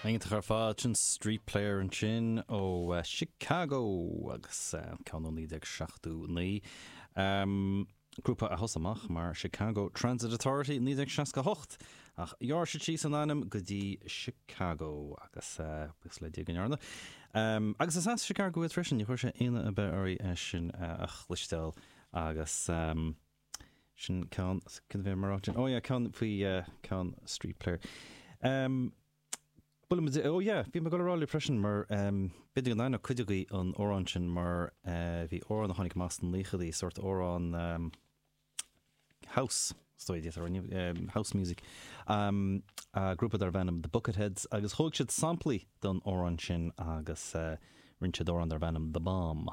Iontach ar fad, sin Street Player ansin ó Chicago agus ceann ó 1979. Grúpa a thosaigh amach mar Chicago Transit Authority 1968 ach ghearr siad síos an ainm go dtí Chicago agus buíochas le Dia go ndearna. Agus is as Chicago iad freisin, ní chuir sé ionadh ar bith orainn é sin a chloisteáil agus sin ceann, cad a bhí mé a rá ansin? Oh yeah, ceann faoi ceann Street Player. Buailimid, oh yeah, bhí mé ag dul a rá libh freisin mar b'fhéidir go n-aithneodh cuid agaibh an amhrán sin mar bhí amhrán a tháinig amach sna naochadaí, sórt amhrán house, is dóigh, d'fhéadfá a rá, house music, grúpa darbh ainm The Bucketheads agus thóg siad samplaí den amhrán sin agus rinne siad amhrán darbh ainm The Bomb.